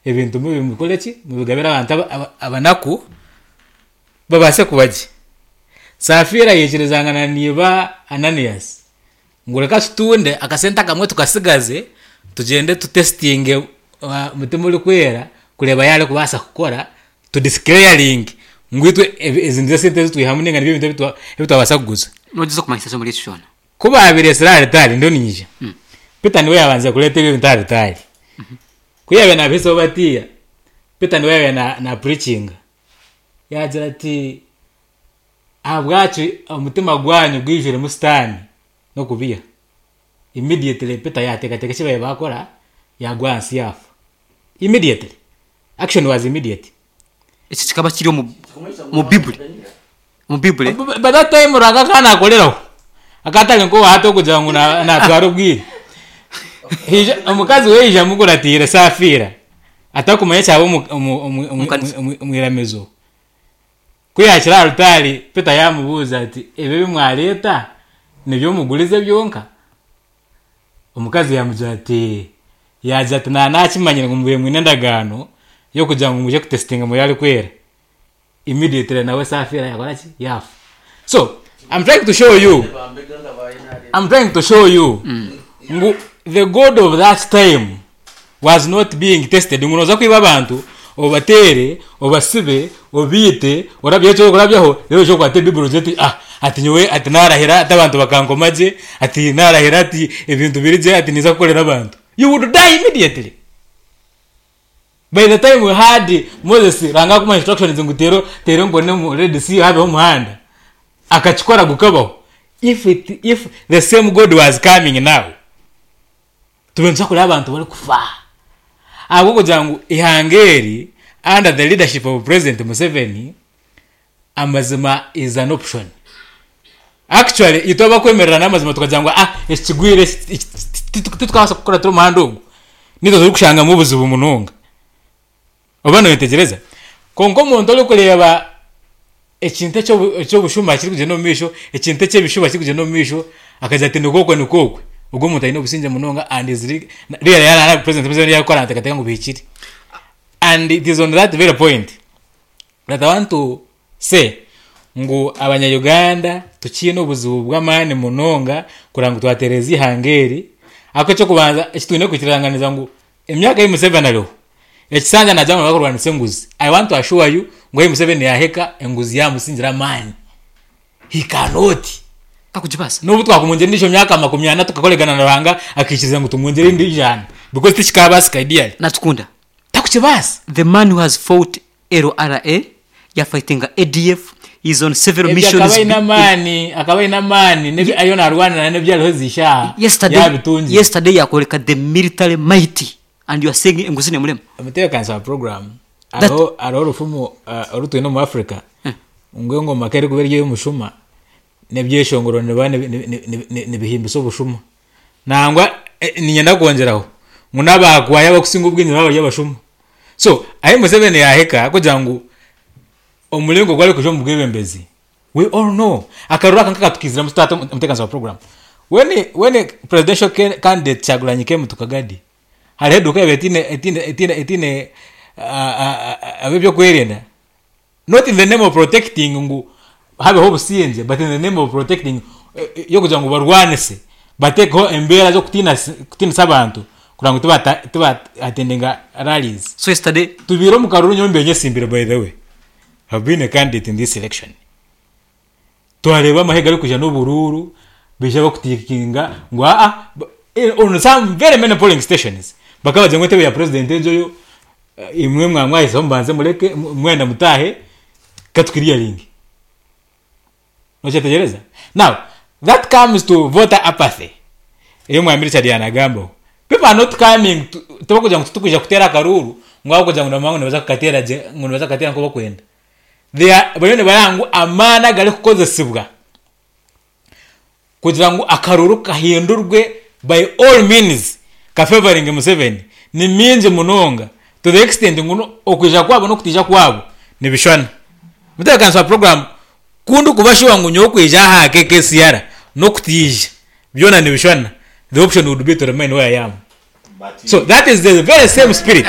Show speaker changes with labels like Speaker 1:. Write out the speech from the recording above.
Speaker 1: Ebintu mubikore ki? Mubigabire abantu abanaku babaase kuba gye. Safira yaikirizangana na iba Ananias ngu reka tutunde akasente akamwe tukatsigaze tugyende tutesitinge Mutima Orikwera kureeba yaaba arikubaasa kukora tu declaringe ngu itwe ezi nizo sente ezi twihamu ninga nibyo bintu ebi twabaasa kuguza.
Speaker 2: Nogyeza okumanyisa ki omuri eki kyona?
Speaker 1: Ku baabireetsire aha ritaari, ndiyo niinyija, Peter niwe yaabanzire kureeta ebyo bintu aha ritaari. Ku yaabaire naabihisaho batiya, Peter niwe yaabaire na naapurikinga. Yaagira ati, Ahabwaki omutima gwanyu gwijwiremu Sitaane n'okubeiha? Immediately Peter yaateekateeka eki baabaire baakora, yaagwa ahansi yaafa. Immediately. Action was immediate.
Speaker 2: Eki kikaba kiri omu omu Bibuli. Omu Bibuli.
Speaker 1: By that time Ruhanga akaba nakoreraho. Akaba atari nk'owa hati okugira ngu na- natwara obwire. Haija omukazi we yaija amukuratiire Safira atakumanya ekyaba omu- omu- omu- omu-
Speaker 2: Omukanisa.
Speaker 1: omu- omu iramizo. Ku yaakire aha rutaari, Peter yaamubuuza ati, Ebi ebi mwareeta nibyo mugurize byonka? Omukazi yaamugira ati, yaagira ati, Naaba naakimanyire ngu mubaire mwine endagaano y'okugira ngu mwije kutesitinga Mwoyo Arikwera. Immediately nawe Safira yaakora ki? Yaafa. So, I'm trying to show you, I'm trying to show you ngu the God of that time was not being tested ngu nooza kwiba abantu obateere, obasibe, obaite, orabyeho eki orikurabyaho reero oije okwate Bible ogire oti ah ati nyowe ati naarahira ati abantu bakankoma gye, ati naarahira ati ebintu biri gye ati ninza kukorera abantu. You would die immediately. By the time we had Moses Ruhanga akumuha instructions ngu teera teera enkoni omu Red Sea habeho omuhanda, akakikora gukabaho. If it if the same God was coming now, tube nituza kureeba abantu barikufa ahabw'okugira ngu eihanga eri under the leadership of President Museveni amazima is an option. Actually itwe abakwemerera n'amazima tukagira ngu ah eki kigwire eki eki titukabaasa kukuratira omuhanda ogu, nitwe turikushangamu obuzibu munonga. Oba noyetegyereza? Kwonka omuntu orikureeba ekintu eky'obushuma kirikugyenda omu maisho, ekintu eky'ebishuba kirikugyenda omu maisho, akagira ati nikwo okwe nikwo okwe, ogwo omuntu aine obusingye munonga and is really yaaba president Museveni yaakora naateekateeka ngu bihikire. And it is on that very point that I want to say ngu abanya Uganda tukiine obuzibu bw'amaani munonga kureba ngu twatereeza eihanga eri, ahabw'okuba eky'okubanza eki twine kwikiranganiza ngu Emyaka ei Museveni ariho, ekisanja naagira ngu barikurwanisa enguzi. I want to assure you ngu ahi Museveni yaahika, enguzi yaamusingira amaani. He cannot.
Speaker 2: Takugibaasa.
Speaker 1: N'obu twakumwongyera endiijo myaka 40 tukakoregana na Ruhanga akaikiriza ngu tumwongyere endi ijana because tikikaabaasika ideally.
Speaker 2: Natukunda.
Speaker 1: Takukibaasa.
Speaker 2: The man who has fought LRA, yafightinga ADF, he is on several
Speaker 1: Ebyo
Speaker 2: missions.
Speaker 1: akaba aine amaani, akaba aine amaani n'ebi ariyo naarwanira n'ebi ariho ezi shaaha
Speaker 2: Yesterday,
Speaker 1: yaabitungire.
Speaker 2: yesterday yakoreka the military might and you are saying enguzi nemurema.
Speaker 1: Omutebeekanisa wa puroguraamu
Speaker 2: That-
Speaker 1: hariho hariho orufumu oru twine omu Africa ngu engoma ku erikuba eri ey'omushuma n'ebyeshongoro nibiba nibihimbisa obushuma. Nangwa niinyenda kwongyeraho ngu n'abaakwaya abarikusinga obwingi nibaba bari abashuma. So ahi Museveni yaahika kugira ngu omuringo ogu arikwija omu bwebembezi we all know akaruru aka nk'akatukiiziremu tata omutebeekanisa wa puroguraamu. When when presidential candidate Kyagulanyi came to Kagadi, hariho eduuka eyabaire etiine etiine etiine etiine ab'ebyokwerinda not in the name of protecting ngu habeho obusingye but in the name of protecting y'okugira ngu barwanise batekeho embeera z'okutiinisa abantu kugira ngu tiba attendinga rallies.
Speaker 2: So yesterday
Speaker 1: Tubiire omu karuru nyowe mbiire nyesimbire by the way have been a candidate in this election. Twareeba amahe garikwija n'oburuuru baija bakutiikinga ngu aa on some very many polling stations bakabagira ngu entebe ya president egyo yo Imwe mwaba mwahizeho mubanze mureke mwenda mutaahe katukiriyaringe. Nokyetegyereza? Now, that comes to voter apathy ei Omwami Richard yanagambaho. People are not coming to, tibakugira ngu titukwija kuteera akaruuru ngu ahabw'okugira ngu nibamanya ngu nibaza kukateera gye ngu nibaza kukateera nk'oku barikwenda. They are bariyo nibareba ngu amaani agarikukozesibwa kugira ngu akaruru kahindurwe by all means kafevaringe Museveni ni mingi munonga to the extent ngu okwija kwabo n'okutaija kwabo nibishushana. Mutebeekanisa wa puroguraamu ku ndikuba sure ngu nyowe okwija aha KKCR n'okutaija byona nibishushana, the option would be to remain where I am. So that is the very same spirit.